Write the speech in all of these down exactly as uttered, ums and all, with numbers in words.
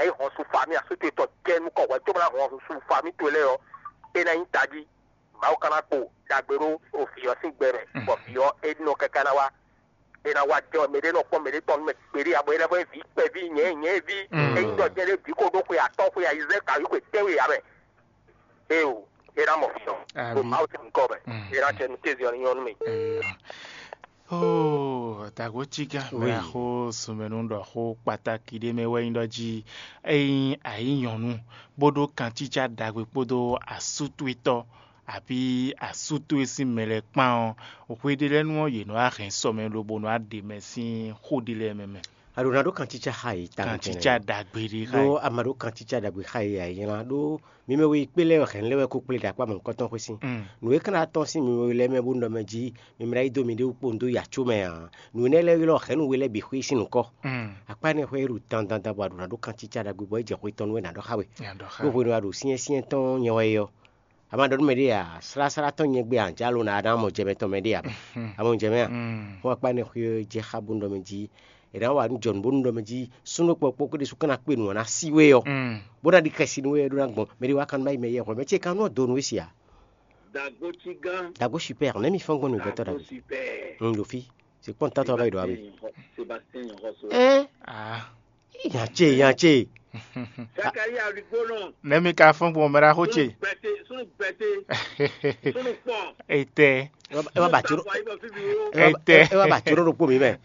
é hɔn su fa mì asútu tɔn jɛ nukɔn hwɛ cóbɔ ná hɔn su fa mì towe lɛ́ɛ ɔ́, é ná nyí tají. Mawu ka ná kpo ɖagbe ɖó vǐ ɔ́ sín gbɛ mɛ, bɔ vǐ ɔ́ é nɔ káká ná wá, é ná wá jɛ mɛ ɖé nɔ kpɔ́n mɛ ɖé tɔn nú mɛ gbeɖé ǎ, bɔ é ná vɔ vǐ kpɛví nyɛ̌ nyɛ̌ví, é nyí ɖɔ jɛ ɖé vǐ xo ɖó xwe atɔ́ xwe ayizɛ́n kawí xwe tɛ́nwe ǎ mɛ. Éeǒ, é ná mɔ vǐ ɔ́ ɖo Mawu sín nyǐkɔ mɛ, é ná jɛ nú kéze ɔ́ ní nyɔ́ nú mì. Oh, dago ciga mɛ axó sumɛnu ɖɔ xó kpataki ɖé mɛ wɛ nyí ɖɔ jí ényí a nyí nyɔ̌nu bó ɖó kancícá ɖagbe kpódó asútúitɔ́ abǐ asútúi sín mɛ lɛ́ɛ kpán ɔ́, hweɖélɛ́nu ɔ́ yě nɔ wá hɛn sɔ mɛ lobo nɔ wá ɖe mɛ sín xó ɖé lɛ́ɛ mɛ mɛ. A ɖǒ ná ɖó kancícá xá yě tawun Kancícá ɖagbe ɖé xá ɖó yě. A ma ɖó kancícá ɖagbe xá yě ǎ, é nylá ɖó mi mɛ we kplé lɛ́ɛ wɛ hɛ̌n lɛ́ wɛ ko kplé ɖo akpá mɔ̌hunkɔtɔn xwé sín. Nǔ e ka ná tɔ́n sín mi mɛ we lɛ́ɛ mɛ bó nɔ mɛ jí mi mlá yí dó miɖée wú kpó un dó yi acó mɛ ǎ. Nǔ énɛ́ lɛ́ɛ ylɔ́ hɛ̌nnu we lɛ́ɛ bǐ xwé sín nǔkɔ. Akpá énɛ́ xwé ɖo dandandan bɔ a ɖǒ ná ɖó kancícá ɖagbe bɔ é jɛ xwe tɔn nú we ná ɖɔ xá we. Ɖó hwenu e a ɖo syɛ́nsyɛ́n tɔn nyɛ wɛ é ɔ́, a ma ɖɔ nú mɛɖé ǎ, sláslá tɔn nyɛ gbé ǎ, jǎ lo ná ná mɔ jɛ mɛ tɔn mɛɖé ǎ. A mɔ jɛ mɛ a? Xó akpá énɛ́ xwé ɔ́ jɛ xá bó nɔ mɛ jí è nǎ wa nú jɔnǔ bónú ɖɔ mɛ jí súnnu kpɔkpɔ kó ɖésú ka ná kpe nǔ ɔ́ ná sí we ɔ́, bó ná ɖi xɛsi nú we ɖó ná gbɔn mɛ ɖé wá kan má yi mɛ yɛ hwɛ mɛ ce ka nɔ dó nú we sia. Dagbo ci gán. Dagbo super, nɛ́ mi fɔ́n gbɔn nǔgbɛtɔ́ Dagbo ɖagbe. Super. N ɖo fí, se kpɔ́n tátɔ ɔ́ va yi ɖɔ wá we. Sebastien Yɔnxɔso. Ɛ Ah, yantse yantse. Zakaria Rigbonɔ. Nɛ́ mi ka fɔ́n gbɔn mɛ ɖaxó ce. Bɛte, sunu bɛte, sunu kpɔn. Etɛ. Ɛ wá ba tso Sunu kpɔn. Etɛ. ɛ wá ba tso ɖo ɖokpó mi mɛ.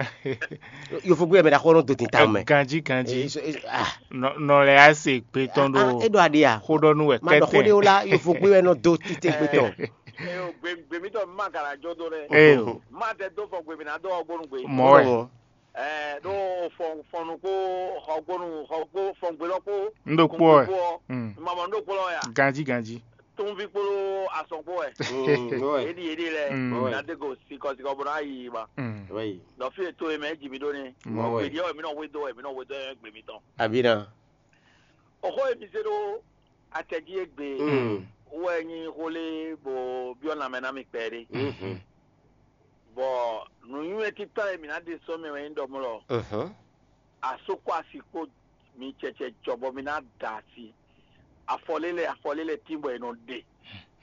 Yovogbé mɛ ɖaxó nɔ do tin ta mɛ. Ganji ganji. Eh, so- eh, ah, Nɔ nɔ lɛ ase gbe tɔn ah, ɖo. Eɖo aɖe ya. Xó ɖɔ nú wɛ Ma ɖɔ xó ɖe kɛtɛ. Wo la yovogbé wɛ nɔ do tite gbé tɔn. Eyo gbe gbe mi tɔ ma gara jɔ do ɖe. Eyo. Ma tɛ do fɔ gbe mi na do ɔgbonu gbe. Mɔ wɛ. Ɛɛ ɖo fɔn fɔnnu ko xɔgbonu xɔgbo fɔngbelɔ ko. N ɖo kpɔ ɛ. Mm. Mamɔ n ɖo kpɔ ya. Ganji ganji. Tunvi kpolo asɔn kpo ɛ. Mm, ouais. Edi edi lɛ. Mm. Ouais. Na de ko sikɔ sikɔ bɔ na yi ma. Mm. Oui. Nɔ fi to ye mɛ ji mi ɖo ni. Mɔ wɛ. Gbedi ɔwɛ mi nɔ we do ɛ mi nɔ we do ɛ gbe mi tɔn. Abina. Oxo ye mi se ɖo atɛji egbe. Mm. Wɛ nyi xo le bo biɔ na mɛ na mi kpɛ ɖe. Mhm. Bɔ nuyún e títà ye mi na de sɔ mi wɛ nyi dɔ mlɔ. Mhm. Asokɔ asi kpo mi tsɛtsɛ jɔ bɔ mi na da asi. Afɔlélɛ afɔlélɛ tí bɔ e nɔ ɖe.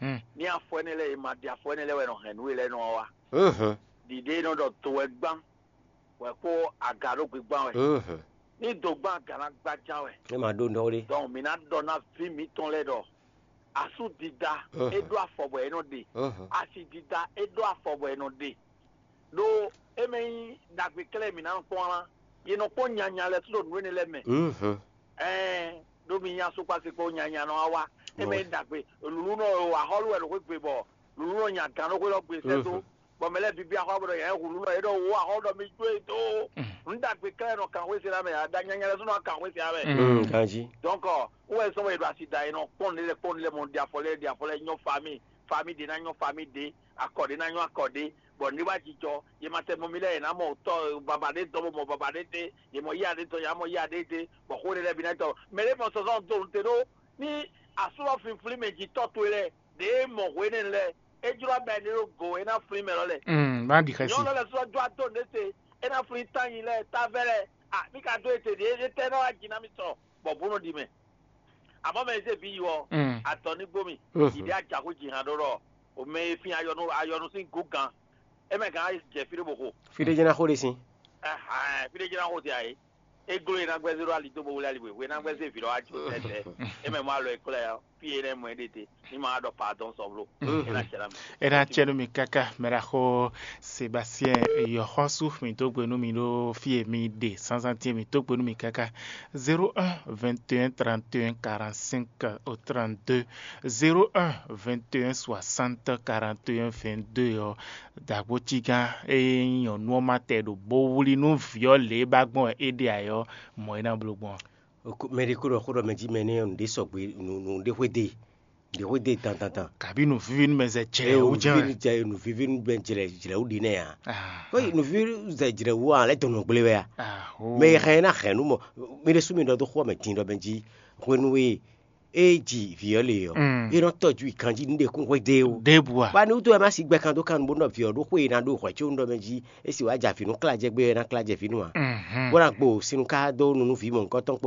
Hmm. Ní afɔ ɛnɛ lɛ e ma ɖe afɔ ɛnɛ lɛ wɛ nɔ hɛn nú e lɛ nɔ wa. Mhm. Ɖiɖe e nɔ ɖɔ to wɛ gbán wɛ kpó aga ɖó gbígbán wɛ. Mhm. Ní do gbán aga ná gbájá wɛ. E ma ɖo nɔ ɖe. Donc mi ná ɖɔ ná vi mitɔn lɛ ɖɔ asú dida Mhm. e ɖó afɔ bɔ e nɔ ɖe. Mhm. Asi dida e ɖó afɔ bɔ e nɔ ɖe. Ɖó e mɛ nyí ɖagbe klɛ́ mi ná kpɔ́n lá. Ye nɔ kpɔ́n nyanya lɛ sú ɖo nǔ énɛ́ lɛ mɛ. Mhm. Ɛɛ ɖó mi nya sukpasi kpó nyanya nɔ wa. E mɛ nyí ɖagbe lulu nɔ axɔlu wɛ ɖo xwé gbe bɔ lulu nɔ nya gǎn ɖó xwé lɔ gbe sɛ dó. Bɔ mɛ lɛ bibi axɔ bɔ yɛ hu lulu nɔ yɛ ɖɔ wo axɔ ɖɔ mi jó e dó. Nǔ ɖagbe klɛ́ nɔ kan xwé se la mɛ ada nyanya lɛ sú nɔ kan xwé se la mɛ. Mm, ganji. Donc wɛ sɔmɔ yɛ ɖo asi da yɛ nɔ kpɔn ne lɛ kpɔn ne lɛ mɔ ɖi afɔ lɛ ɖi afɔ lɛ nyɔ fa mi fa mi ɖe na nyɔ fa mi ɖe akɔ ɖe na nyɔ akɔ ɖe bɔ ne wa jijɔ ye ma tɛ mɔ mi lɛ yɛ na mɔ tɔ baba ɖe dɔ bɔ mɔ baba ɖe te ye mɔ ya ɖe tɔ ya mɔ ya ɖe te bɔ xo ɖe lɛ bi na tɔ mɛ ɖe mɔ sɔsɔ do te ɖo ni asúlɔ finflin mɛ ji tɔ to lɛ ɖe mɔ hwe ne lɛ e jlo abɛ ne ɖo go e na flin mɛ lɔ lɛ Mm, má ɖi xɛsi. Nyɔnu lɛ sɔ do ato ne se e na flin tanyi lɛ tavɛ lɛ a mi ka do ete ɖe e tɛ na wa ji na mi sɔ bɔ bo nɔ ɖi mɛ amɔ mɛ se vi yi wɔ Mm. atɔ ni gbo mi Mhm. yi ɖe ajaxu ji hàn ɖo ɖɔ o mɛ e fi ayɔnu ayɔnu sin gu gan e mɛ gan jɛ fi ɖe bo xo Fi ɖe jɛna xo ɖe sin. Ɛhɛn, fi ɖe jɛna xo ti ayi e glo e na gbɛ zero ali do bo wuli ali bo e na gbɛ se vi ɖɔ wa ju tɛtɛ e mɛ mo alɔ e klɛ ya fi e ne mɔ e ɖe te ni ma ɖɔ pardon sɔblo e na cɛ la mi. Ena tiɛ nú mi kaka mɛɖaxó Sébastien Yɔxɔsu, mi dó gbe nú mi ɖó fie mi ɖe sansan tiɛ mi dó gbe nú mi kaka zéro un vingt et un trente et un quarante-cinq au trente-deux, zéro un vingt et un soixante quarante et un vingt-deux ɔ dagbo tigán eye nyɔnu ɔ́ ma tɛ ɖo bo wuli nú vǐ ɔ́ lě e ba gbɔn wɛ é ɖe ayɔ mɔ é ná bló gbɔn. Mɛ ɖé kó ɖɔ xó ɖɔ mɛ jí mɛ nɛ nǔɖé sɔgbe nǔɖé xwéde nǔɖé xwéde dandandan. Kabi nùvivi nu mɛ zɛ jlɛ wú jɛ mɛ. Jɛ nùvivi nu bɛ jlɛ jlɛ wú ɖi nɛ ya. Kó nùvivi zɛ jlɛ wú a lɛ dɔnɔ gblé wɛ ya. Mɛ yi hɛn na hɛn nu mɔ mi ɖe sú mi ɖɔ dó xó mɛ din ɖɔ mɛ jí hwenu e e ji vǐ ɔ́ le ɔ́ e nɔ tɔjú ikanjí nu ɖe kún xwéde o. Ɖébua. Ba ni wútu wɛ ma si gbɛ kan dó kan bó nɔ vǐ ɔ́ ɖó xwé e na ɖó hwɛ có nu ɖɔ mɛ jí e si wá ja vǐ nú kla jɛ gbé wɛ na kla jɛ vǐ nu a. Bó na gbo sinu ká dó nu nú vǐ mɔ̌hunkɔtɔn kpó